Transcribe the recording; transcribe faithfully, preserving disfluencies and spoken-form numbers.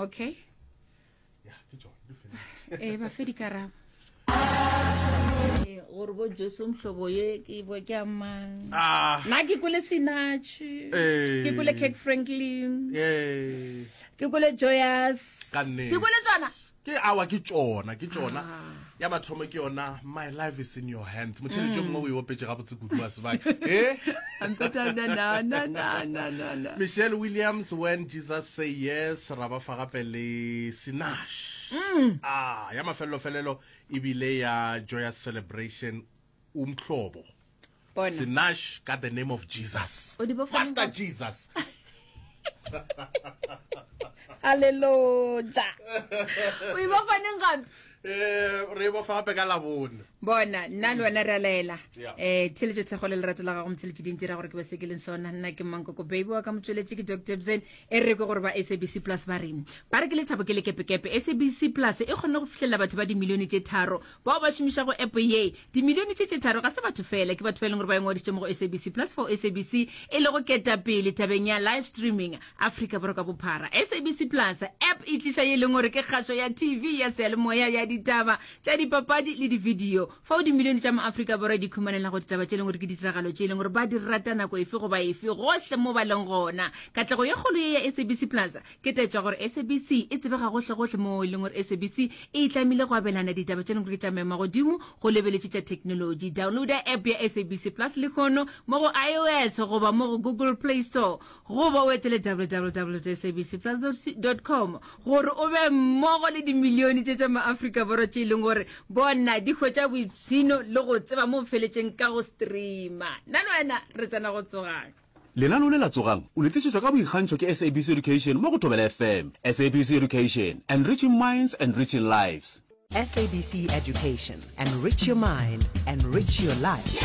Okay. Ya, ke tšona di feditše. Ee, ba fe dikarabo. Ee, gore bo Jesu mhlobo ye ke bo ke amang. Ah. Nna ke kwele Sinach. Ee. Ke kwele Kirk Franklin. Ee. Ke kwele Joyous. Ka nnete. Ke kwele tsona. Ke awa ke tšona, ke tšona. Ya mathomo ke yona My Life Is In Your Hands. Motheletši yo mongwe o e opetše gabotse kudu wa tseba. Eh? Ampeta na na na na na na na. Michelle Williams, When Jesus Say Yes, ra ba fa gape le Sinach. Ah, ya mafelelo-felelo ebile ya Joyous Celebration, Umhlobo. Bona. Sinach ka The Name of Jesus. O di bofa Master neng? Jesus. Hallelujah. O e bofa neng gape? Eh, re e bofa gape ka Labone. Bona, nna le wena re a laela. Yeah. Eh, theletšo thekgo le lerato la gago motheletši di ntira gore ke be se ke leng sona. Nna ke Mankoko Baby wa ka motšweletši ke Doctor Bzen. E re kwe gore ba S A B C Plus ba reng. Ba re ke lethabo ke lekepekepe. S A B C Plus e kgonne go fihlelela batho ba dimilione tše tharo bao ba šomišago app ye. Dimilione tše tše tharo ga se batho fela, ke batho ba e leng gore ba ingwadišitše mo go S A B C Plus for S A B C e lego ketapele tabeng ya live streaming Afrika Borwa ka bophara. S A B C Plus app e tliša ye e leng gore ke kgašo ya T V ya seyalemoya ya ditaba tša dipapadi le di-video fao dimilione tša maAfrika Borwa di ikhumanela go ditaba tše e leng gore ke ditiragalo tše e leng gore ba di rata nako efe goba efe gohle mo ba leng gona. Katlego ye kgolo ye ya S A B C Plus ke taetšo ya gore S A B C e tsebega gohle-gohle mo e leng gore S A B C e itlamile go abelana ditaba tše e leng gore ke tša maemo a godimo go lebeletše tša technology. Downloada app ya S A B C Plus lehono mo go iOS goba mo go Google Play Store goba o etele W W W dot S A B C plus dot com gore o be mmogo le dimilione tše tša maAfrika Borwa tše e leng gore bona di hwetša boipshino le go tseba mo go feletšeng ka go streama. Nna le wena re tsena go Tsogang. Lenaneo le la Tsogang o le tlišetšwa ka boikgantšho ke S A B C Education mo go Thobela F M. S A B C Education, enriching minds, enriching lives. S A B C Education, enrich your mind, enrich your life.